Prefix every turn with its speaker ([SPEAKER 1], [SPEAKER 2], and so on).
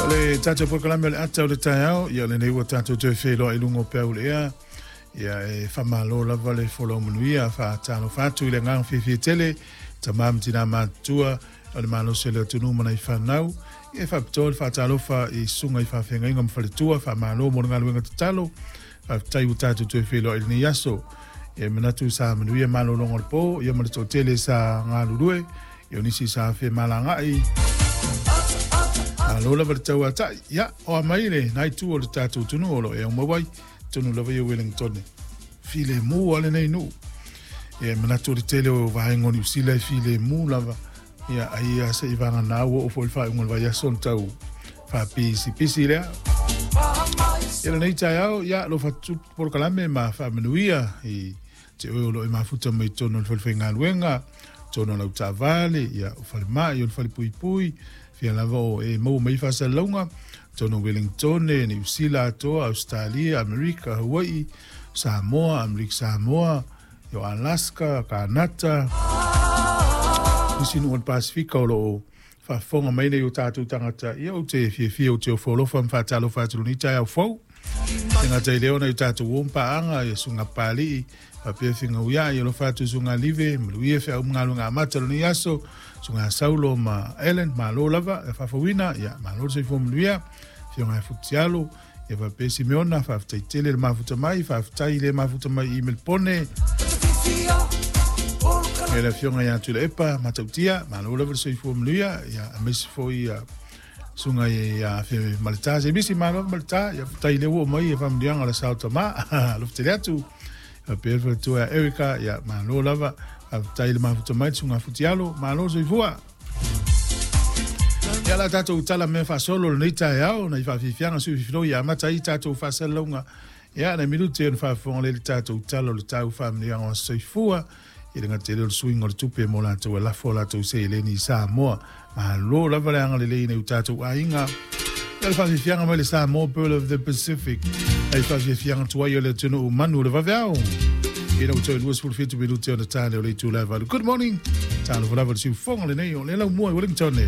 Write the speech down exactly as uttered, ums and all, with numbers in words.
[SPEAKER 1] O le tātou polokalame o le ata o le taeao, ia lenei ua tātou toe feiloai i luga o peau o le ea. Ia e faamalo lava le folau manuia, faatalofa atu i le agaga fiafia tele, tamā ma tinā matutua o le malosi o le atunuu ma nai fanau. Ia e faapitoa le faatalofa i susuga i faafeagaiga ma faletua, faamalo mo le galuega tatalo, faafetai ua tātou toe feiloai i lenei aso. Ia e manatu sa manuia malologa o le po, ia ma le toatele sa galulue, ia o nisi sa femalagai. Malo lava le tauatai, ia o a mai le nai tu o le tātou tunu o lo e au mawai, tonu lava ia Wellington. File mu ale nei nu. Ia manatu o le tele o vaenga o Niu Sila e file mu lava. Ia ai ia se i vanga nā ua o fo i whaunga le vai aso tau whapisipisi lea. Ia lenei taeao, ia lo whatu polokalame ma whaamanuia i te oe o lo e mafuta mai tonu o le whalewhaingaluenga, tonu o lau taavale, ia o whalemai, o le whalepuipui, fia lava o e maua mai faasalalauga, tonu Wellington, Niu Sila atoa, Australia, Amerika, Hawaii, Samoa, Amerika Samoa, o Alaska, Kanata, nisi nuu o le Pasifika o loo faafofoga mai nei o tatou tagata. Ia ou te fiafia ou te ofo alofa ma faatalofa atu lenei taeao fou. E gata i lea ona i o tatou o ma paaga, ia susuga Papalii, faapea Figauia, ia alofa atu susuga Live, maluia feau ma galuega amata o lenei aso, susuga Saulo ma Ellen, malo lava, e faafouina, ia malo le soifua manuia, afioga ia Futialo, ia faapea Simeona, faafetai tele le mafuta mai, faafetai le mafuta mai i Melpone. Ia le afioga ia Tuilaepa, Matautia, malo lava le soifua manuia, ia aemaise foi ia susuga ia Fe Maleta, se misi malo Maleta, ia faafetai le ua mai e faamanuiaga o le sao tama, alofa tele atu. Faapea le faletua ia Erica, ia malo lava, faafetai le mafuta mai le susuga Futialo, malo soifua. Ia la tātou tala mea faasolo lenei taeao, nai faafiafiaga sui fifiloi ia amata ai tātou faasalalauga. Ia nai minute ona faafofoga lea i le tātou tala o le tau faamanuiaga o soifua, i le gata i lea o le suiga o le tupe mo latou e lafo a latou seleni i Samoa. Malo lava le agalelei nei o tātou aiga. Ia le faafiafiaga mai le Samoa Pearl of the Pacific. Ai faafiafiaga tuai o le atunuu manu o le vaveao. Ina ua toe luasefulu fitu minute ona tane o le itula e valu. Good morning. Talofa lava le siufoga lenei o le laumua i Wellington.